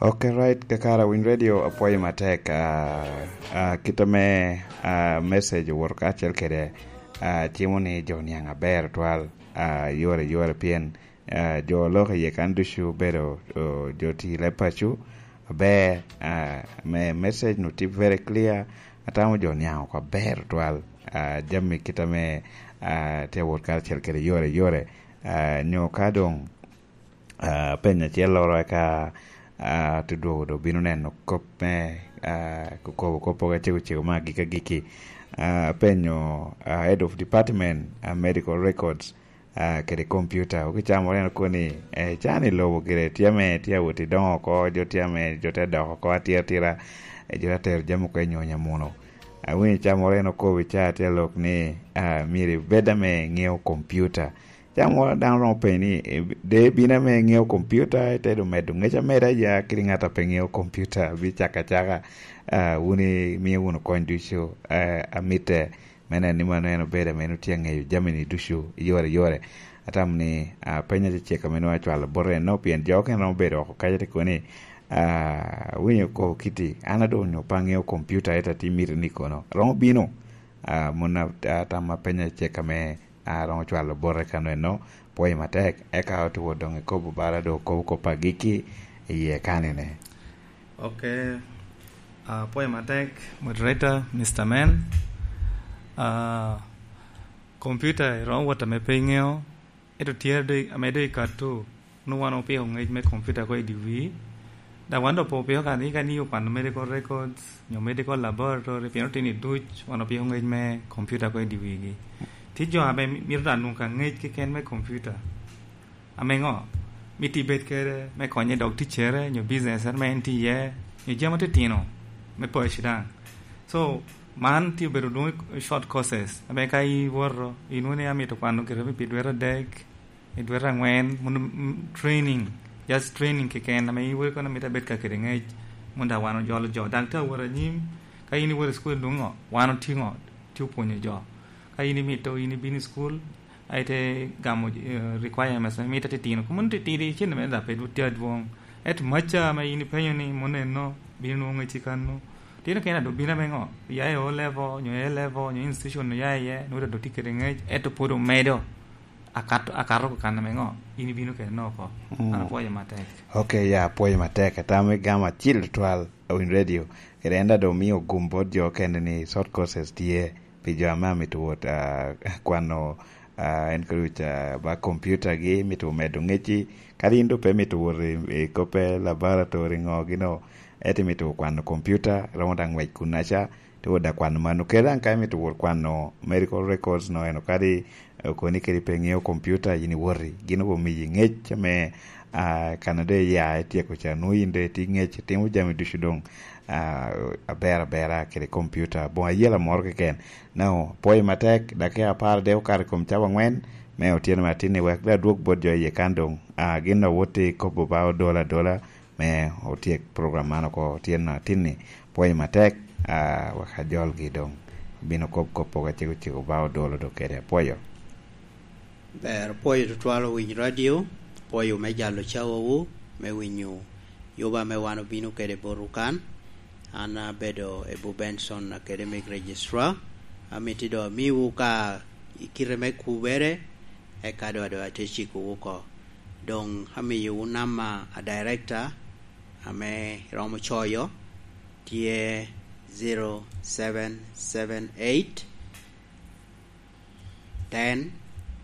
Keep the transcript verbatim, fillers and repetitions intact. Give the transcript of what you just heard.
Ok, right, kakara Winy Radio, apwoyo matek. Ah, ah, kit ame, ah, message owoto kacel kede, ah, cimo ni jo niaŋ aber twal, ah, yore, yore pien, ah, jo lok iye kan ducu obedo, oh, jo ti leb paco aber, ah, me message nu tye very clear, atamo jo niaŋ oko aber twal, ah, jami kit ame, ah, tye awot kacel kede yore, yore, ah, nyo ka doŋ, ah, penyo acelloro eka, ah, te dwogo dok bino neno kop me, ah, kobo kop pogo acego cego me agikki agikki. Ah, apenyo, ah, Head of Department, ah, Medical Records, ah, kede computer. Oki camoro en okoni, eh, can i lobo gire tye ame tye awot i doŋo oko, jo tye ame jo te dok oko atira atira, eh, jo te tero jami oko i nyonya muno. Awinyo camoro en okobo i caa tye alok ni, ah, myero ibed ame ŋeo computer. Camo dano romo penyo ni, "Eh, de ibino ame ŋeo kompiuta, ite doŋ medo ŋec ameda ya kede ŋat a pe ŋeo kompiuta, bi caka acaka, ah, wun imio wunu kony ducu, ah, amitte." Me neno ni mano en obedo ame en otye aŋeyo jami-ni ducu i yore yore. Atamo ni, ah, peny acecek ame nwoŋo acwalo bot en no, pien jo okene romo bedo oko kaca te kono ni, ah, "Winyo ko kiti, an adoŋ onyo pe aŋeo kompiuta, ite atimito ni kono." Romo bino, ah, mon a-, atam apeny acecek ame a romo cwalo bote kano eno, pwoyo matek, eka otuwo doŋ ikobo bala doŋ okobo kop agikki iye kanine. Ok. Ah, pwoyo matek, moderator, Mister Man. Ah, computer iromo wot ame pe iŋeo, ento tye ado-, ame doŋ ikatto, nwoŋo wan opiko ŋec me computer ko i dye wii. Dok wan doŋ pe opiko ka ni, ka ni okwano medical records, nyo medical laboratory, pien otino duc, wan opiko ŋec me computer ko i dye wigi. Tye jo ame mi-, mito daŋ nwoŋo ka ŋec keken me computer. Ame ŋo? Mito ibed kede me konye dok ticcere, nyo business ame en tye iye, nyo jami titino me paco daŋ. So, man tye obedo dwoŋ short courses, ame ka iwoto, inwoŋo ni amito kwano gire me pi dwete adek, i dwete angwen, mono, mm, training, just training keken, ame in iweko ni mito abed ka kede ŋec, mono daŋ wan ojolo jo. Daŋ te awot anyim, ka in iwoto i cukul doŋ ŋo? Wan otye ŋo? Tye opwonyo jo. Ka in imito, in ibino i cukul, a ite gamo, eh, requirements ame mito titino. Kun mono titidi, cente mere daŋ pe dwo-, tye adwoŋ. Ento macca ame in ipenyo ni, mono enno, bino nwoŋo ŋec i kanno. Tino kena dok bino ame ŋo? Ya i O level, nyo A level, nyo institution oya iye, nwoŋo dok tye kede ŋec, ento pwod omedo. Akato, akato ko kan ame ŋo? In ibino kede no oko. Mm. An apwoyo matek. Ok, ya, apwoyo matek. Atamo igamo acil tutwal, Winy Radio. Kede en daŋ doŋ omio gum bot jo okene ni short courses tye pi jo ame amito wot, ah, kwano, ah, en kodi ca ba computer gi, mito medo ŋecci. Kadi in doŋ pe mito wot i, i koppe laboratory ŋo gino, ento imito kwano computer, romo daŋ ŋwec kunnaca. Te wot daŋ kwano mano. Kede daŋ ka imito wot kwano medical records no eno, kadi, eh, okoni kede pe ŋeo computer, yin iwoti. Gin omiyi ŋec ame, ah, kan a doŋ iya ityeko ca, nwoŋo yin doŋ itye ŋec, itimo jami ducu doŋ, ah, aber abera kede computer. Boŋ ayela moro keken. Nao, pwoyo matek, dakika apar dek okato i kom cawa angwen me otyeno me atinni, wek daŋ adwog bot jo iye kan doŋ, ah, gin a wot i kobo ba odola adola, me otyek program man oko tyen atinni. Pwoyo matek, ah, wek ajolgi doŋ. Bino kop kop pogo acego cego ba odolo do kede. Apwoyo. Ber, apwoyo tutwal owiny radio, apwoyo me jalo cawawu, me winyo yuba me wan obino kede botwu kan. An abedo Ebu Benson, Academic Registrar. Amito doŋ amiwu ka i kite me kubere, eka doŋ, doŋ atye cikowu oko. Doŋ amiyowu namba a director ame romo coyo, tye zero seven seven eight, ten,